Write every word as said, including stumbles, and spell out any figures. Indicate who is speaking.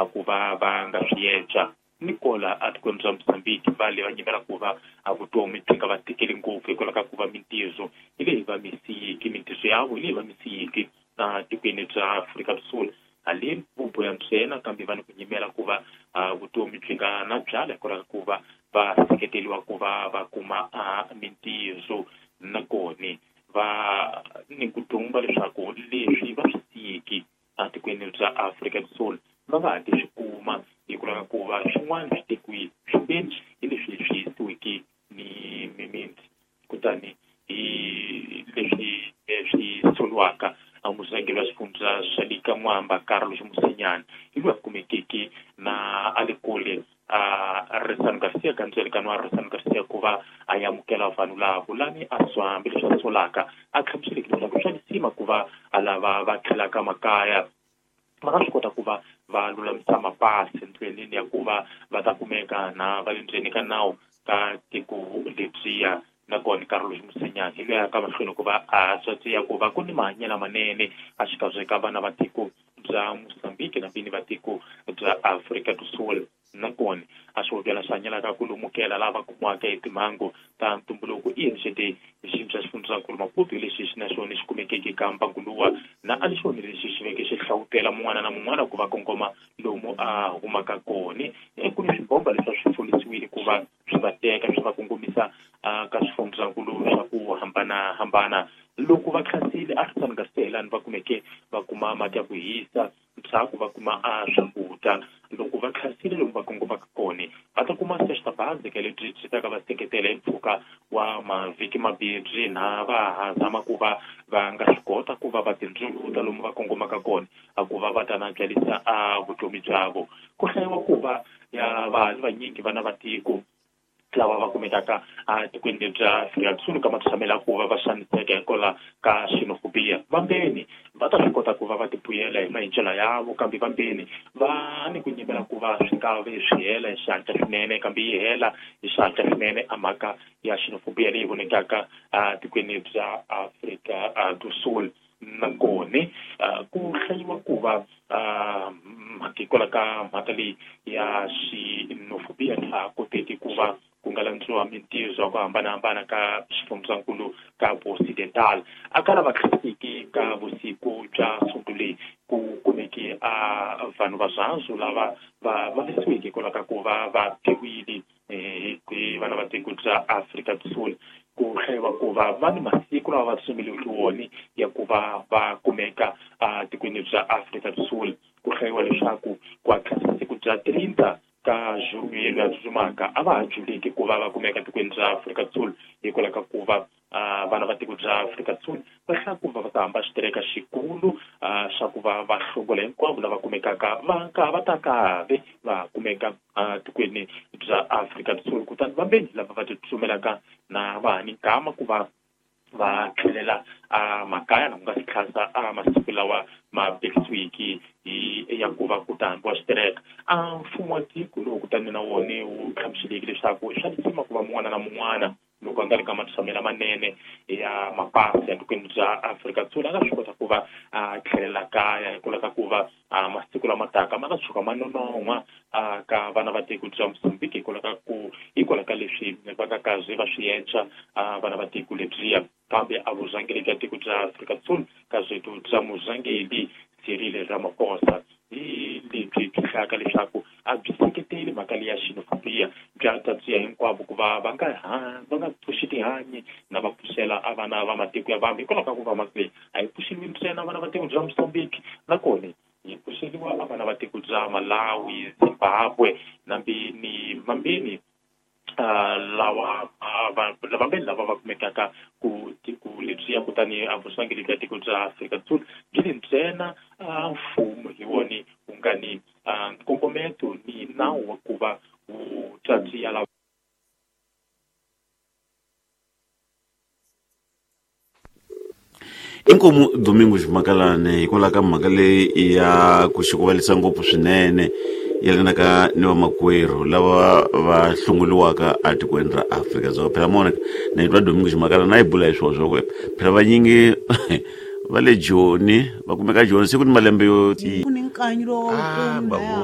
Speaker 1: a ku va va nga swi endla. Nikola a tikweni bya Mozambique va le va nyimela ku va a vutomi byi nga va tikeli ngopfu hikwalaho ka ku va mintirho hi leyi va misiyiki mintirho ya vo hi leyi va misiyiki na tikweni bya Afrika do Sul haleni vuboya ntsena kambe va ni ku nyimela ku va vutomi byi nga na byala hikwalaho ka ku va va seketeriwa ku va va kuma mintirho nakona va ni ku dumba leswaku leswi va swi siyiki etikweni bya Afrika do Sul va nga ha ti swi kuma hikwalaho ka ku va swin'wana swi tekiwile swimbeni hi leswi swi yisiweke ni mimiti kutani hi leswi swi soliwaka murhangeri wa xifundza swa le ka N'wamba Carlos Mosinyane hi loyi a kumekeke na a le kule a Risano Garcia ka ndzwelekano wa Risano Garcia ku va a amukela vanhu lavo lani a swa hambileswi a solaka a hlamuseleke leswaku swa lisima ku va a lava va tlhelaka makaya va nga swi kota ku va va lulamisa mapasi ndleleni ya ku va va ta kumeka na va le ndzeni ka nawu ka tiko lebyiya. Nakona Carlos Mosinyane hi loyi a ka mahlweni ku va a tswatsiya ku va ku ni mahanyelo manene a xikarhi ka vana va tiko bya Mozambique na vini va tiko bya Afrika do Sul. Nakona a swi byela swi hanyelaka ku lumukela lava kumiwaka hi timhangu ta ntumbuluko i N C D xiyimo xa xifundzankulu Maputo hi lexi xi na xona xi kumekeke ka mbangu luwa na a xona lexi xi veke xi hlawutela mun'wana na mun'wana ku va kongoma lomu a humaka kona. Ku ni swibomba leswi a swi folisiwile ku va swi va teka swi va kongomisa ka swifundzankulu swa ku hambanahambana. Loko va tlhasile a Risano Garcia lani va kumeke va kuma mati ya ku hisa ndzhaku va kuma a swakudya. Loko va tlhasile lomu va kongomaka kona va ta kuma sexta bazi ka lebyi byi ta ka va seketela hi mpfhuka wa mavhiki mambirhi na va ha zama ku va va nga swi kota ku va va tindzuluta lomu va kongomaka kona a ku va va ta na byalisa a vutomi byavo. Ku hlayiwa ku va ya vanhu vanyingi vana va tiko lava va kumekaka etikweni bya Afrika do Sul ka matshamelo ku va va xaniseka hikwalaho ka xenophobia vambeni va ta swi kota ku va va tibuyela hi maendlelo yavo kambe vambeni va ni ku nyimela ku va swi nga vi swi hela hi xihatla swinene kambe yi hela hi xihatla swinene a mhaka ya xenophobia leyi vonekaka etikweni bya Afrika do Sul. Nakona ku hlayiwa ku va hikwalaho ka mhaka leyi ya xenophobia ha koteki ku va ku nga landziwa mintirho ya ku hambanahambana ka xifundzankulu ka Occidental. A ka lava tlhasiki ka vusiku bya Sonto leyi ku kumeke a vanhu va zwanzu lava va vavisiweke hikwalaho ka ku va va biwile hi vana va tiko bya Afrika do Sul. Ku hlayiwa ku va va ni masiku lawa va tsumeliweke wona ya ku va va kumeka etikweni bya Afrika do Sul. Ku hlayiwa leswaku ku hatlisa siku bya trinta ka junho ya tsutsumaka a va ha juleki ku va va kumeka tikweni bya Afrika do Sul hikwalaho ka ku va vana va tiko bya Afrika do Sul va hlaya ku va va ta hamba xitereka xikulu xa ku va va hlongola hinkwavo lava kumekaka va ka va ta kave va kumeka tikweni bya Afrika do Sul. Kutani vambeni lava va titsumelaka na va ha ni nkama ku va va tlhelela a makaya na ku nga si tlhasa a masiku lawa ma vekisiwiki hi ya ku va ku ta hambiwa xitereka. A mfumo wa tiko lowu kutani na wona wu hlamuseleke leswaku swa lisima ku va mun'wana na mun'wana loko a nga ri ka matshamelo manene ya mapasi ya tikweni bya Afrika do Sul a nga swi kota ku va a tlhelela kaya hikwalaho ka ku va masiku lama taka ma nga tshuka ma nonon'hwa ka vana va tiko bya Mozambique hikwalaho ka ku hikwalaho ka leswi va nga kaze va swi endla vana va tiko lebyiya. Kambe a vurhangeri bya tiko bya Afrika do Sul ka byetu bya murhangeri Cyril Ramaphosa hi lebyi byi hlayaka leswaku a byi seketeli mhaka leyi ya xenophobia bya tatiya hinkwavo ku va va nga va nga pfuxi tihanyi na va pfuxela a vana va matiko ya vambe hikwalaho ka ku va mhaka leyi a yi pfuxeliwi ntsena vana va tiko bya Mozambique nakona yi pfuxeliwa a vana va tiko bya Malawi, Zimbabwe nambi ni mambeni lawa vambeni lava va kumekaka ku tiko lebyiya. Kutani a vurhangeri bya tiko bya Afrika do Sul byi le ntsena mfumo hi wona wu nga ni nkongometo ni nawu wa ku va wu tatiya lava
Speaker 2: Inkomu Domingos Makalane hikwalaho ka mhaka leyi ya ku xikuvalisa ngopfu swinene yelanaka ni vamakwerhu lava va hlongoliwaka etikweni ra Afrika-Dzonga. Phela mona na twa Domingos Makalane na yi bula hi swona swa ku phela vanyingi va le Joni va kumeka Joni se ku ni malembe yo
Speaker 3: ku ni nkanyi lowu
Speaker 2: Ah,
Speaker 3: kumbe
Speaker 2: bavo.